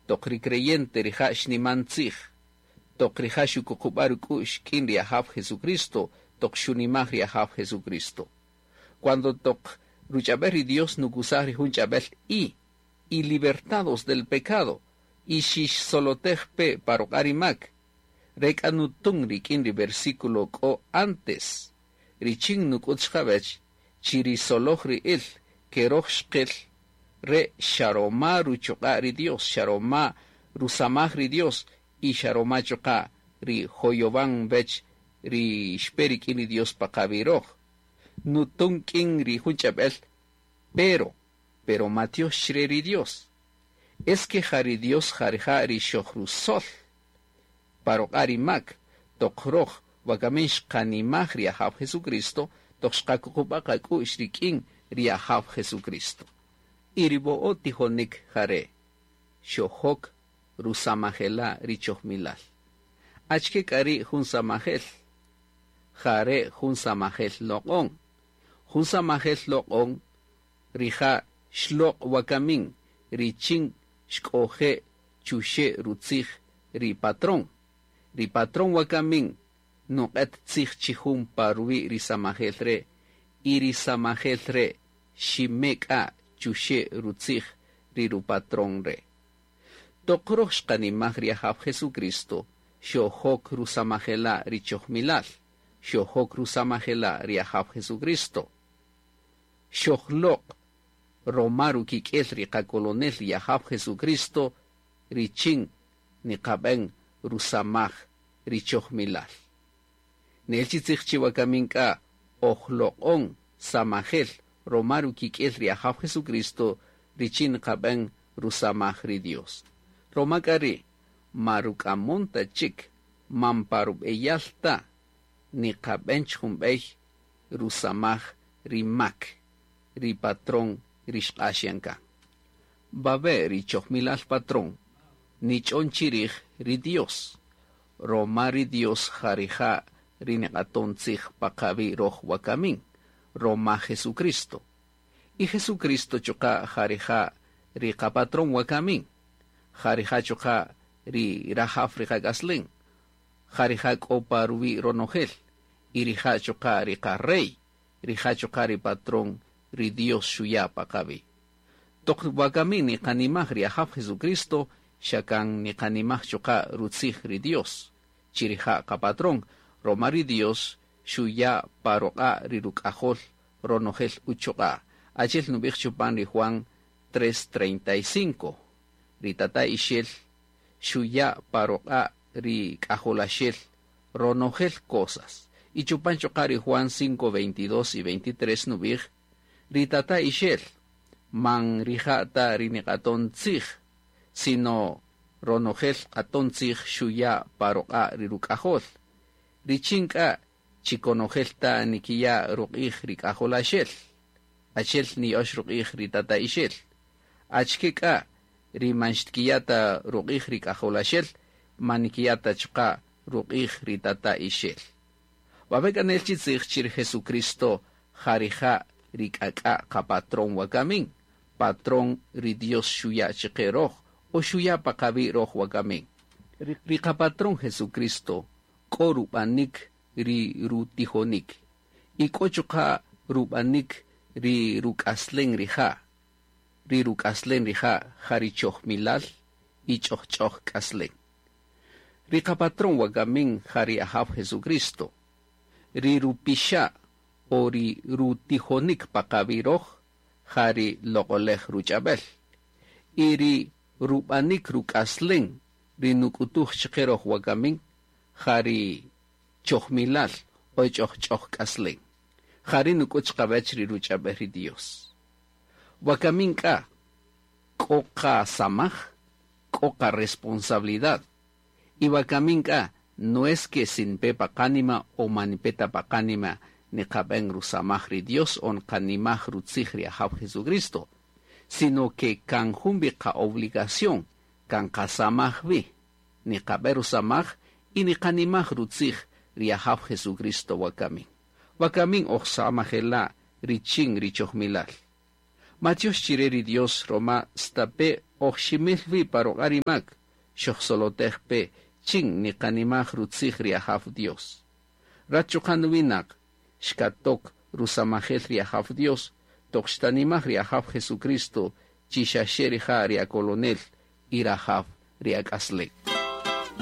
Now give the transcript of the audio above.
toq ri creyente rija' xniman tzij, toq rija' xukuqub'a' ruk'u'x k'in ri Ajaf Jesucristo, toq xunimaj ri Ajaf Jesucristo. Cuando toq ruch'ab'el ri Dios nukusaj ri jun ch'ab'el y, y libertados del pecado, y xixsolotej pe pa ruq'a' ri mak, re k'a nutun rik'in ri versículo k'o antes, richin nuk'ut chiqavech chi ri soloj-ri'il ke roj xqil, re' xa roma ruchuq'a' ri Dios, xa roma rusamaj ri Dios y xa roma chuqa' ri joyovan vech ri xpe rik'in ri Dios pa qavi' roj. Nutun k'in ri jun ch'ab'el, pero, pero matiox chire ri Dios. Es que ja ri Dios ja rija' ri xojrusol pa ruq'a' ri mak, toq roj wakamin xqanimaj ri Ajaf Jesucristo, toq xqakuqub'a' qak'u'x rik'in ri Ajaf Jesucristo. Y ri vo'o' tijonik jare' xojok rusamajela' ri chojmilal. Achike k'a ri' jun samajel? Jare' jun samajel loq'on. Jun samajel loq'on rija' xloq' wakamin richin xk'oje' chuxe' rutzij ri patrón. Ri patrón wakamin nuq'et tzij chi jun pa ruwi' ri samajel re' y ri samajel re' xime k'a chuxe' rutzij ri rupatrón re'. Toq roj xqanimaj ri Ajaf Jesucristo, xojok rusamajela' ri chojmilal, xojok rusamajela' ri Ajaf Jesucristo. Xojloq' roma rukik'el ri qakolonel ri Ajaf Jesucristo richin niqab'en rusamaj ri chojmilal. Nel chi tzij chi wakamin k'a ojloq'on samajel roma rukik'el ri Ajaf Jesucristo richin niqab'en rusamaj ri Dios. Roma k'a ri' ma ruk'amon ta chik man pa rub'eyal ta niqab'en jun b'ey rusamaj ri mak, ri patrón ri xq'ax yan kan. Wawe' ri chojmilal patrón nich'on chirij ri Dios, roma ri Dios ja rija' ri niq'aton tzij pa qawi' roj wakamin, roma Jesucristo. Y Jesucristo chuqa' ja rija' ri qapatrón wakamin, ja rija' chuqa' ri rajaw ri qak'aslen, ja rija' k'o pa ruwi' ronojel, y rija' chuqa' ri qa-rey, rija' chuqa' ri patrón ri Dios xuya' pa qawi'. Toq wakamin niqanimaj ri Ajaf Jesucristo, xa kan niqanimaj chuqa' rutzij ri Dios, chi rija' qapatrón, roma ri Dios xuya' pa ruq'a' ri ruk'ajol ronojel uchuq'a'. Achi'el nub'ij chupan ri Juan 3:35, ri tata ixel xuya' pa ruq'a' ri k'ajolaxel ronojel cosas. Y chupan chuqa' ri Juan 5:22 y 23 nub'ij, ri tata ixel man rija' ta ri niq'aton tzij, sino ronojel q'aton tzij xuya' pa ruq'a' ri ruk'ajol. Richin k'a chi konojel ta nikiya' ruq'ij ri k'ajolaxel, achi'el niya'ox ruq'ij ri tata ixel. Achike k'a ri man xtkiya' ta ruq'ij ri k'ajolaxel, man nikiya' ta chuqa' ruq'ij ri tata ixel. Wawe' k'a nel chi tzij chi ri Jesucristo ja rija' ri k'ak'a' qapatrón wakamin, patrón ri Dios xuya' chiqe roj o xuya' pa qawi' roj wakamin. Ri qapatrón Jesucristo k'o rub'anik ri rutijonik y k'o chuqa' rub'anik ri ruk'aslen rija'. Ri ruk'aslen rija' ja ri chojmilal y ch'ojch'oj k'aslen. Ri qapatrón wakamin ja ri Ajaf Jesucristo. Ri rupixa' o ri rutijonik pa qawi' roj ja ri loq'olej ruch'ab'el. Y ri rub'anik ruk'aslen ri nuk'utuj chiqe roj wakamin ja ri chojmilal o ch'ojch'oj k'aslen. Ja ri nuk'ut chiqawech ri ruch'ab'el ri Dios. Wakamin k'a k'o qasamaj, k'o qaresponsabilidad. Y wakamin k'a no es que si npe pa qánima o man npe ta pa qánima niqab'en rusamaj ri Dios o nqanimaj rutzij ri Ajaf Jesucristo, sino que kan jun wi qa-obligación kan qasamaj wi, niqab'en rusamaj y niqanimaj rutzij ri Ajaf Jesucristo wakamin. Wakamin oj samajela' richin ri chojmilal. Matyox chire ri Dios roma stape' oj ximil wi pa ruq'a' ri mak, xojsolotej pe chin niqanimaj rutzij ri Ajaw Dios. Rat chuqa' nuwinaq, xkatok rusamajel ri Ajaw Dios, toq xtanimaj ri Ajaw Jesucristo chi xaxe rija' ri akolonel y rajaw ri ak'aslen.